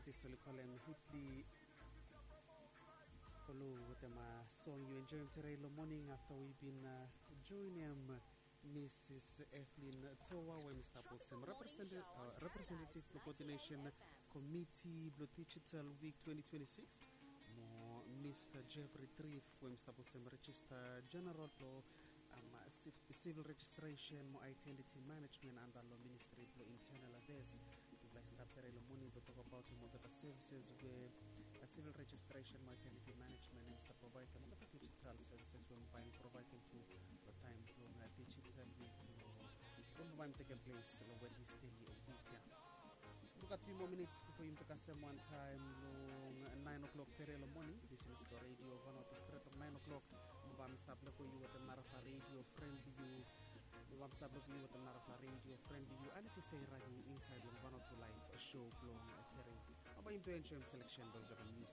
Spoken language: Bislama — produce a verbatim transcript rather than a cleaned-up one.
This oli kolem Hitli Kolu wetem song yu enjoyim tere long moning afta wi bin joinim Mrs. Evelyn Toa we mi stap olsem representative blong coordination komiti blong Digital Week twenty twenty-six, mo Mr. Jeffrey Triff we mi stap olsem regista general blong um, civil registration mo identity management anda long ministry blong internal affairs. Tufala i stap tere long moning blong tokabautim olgeta services we civil registration mo identity management em stap provaidim, olgeta digital services we bai provaidim tu long taim blong digital week blong bai tekem ples long Wednesday week ya. Lukat few more minutes before yumi kasem wan taim long nine o'clock tere long moning. This is the radio Vanuatu stret long nine o'clock. Mo bai mi stap leko yu wetem narafala radio friend blong yu. Mo bai mi stap leko yu wetem narafala radio friend blong yu. Anis i sei ragi inside long Vanuatu live show blong tere. Mo bai yumi tu enjoyim selection blong olgeta news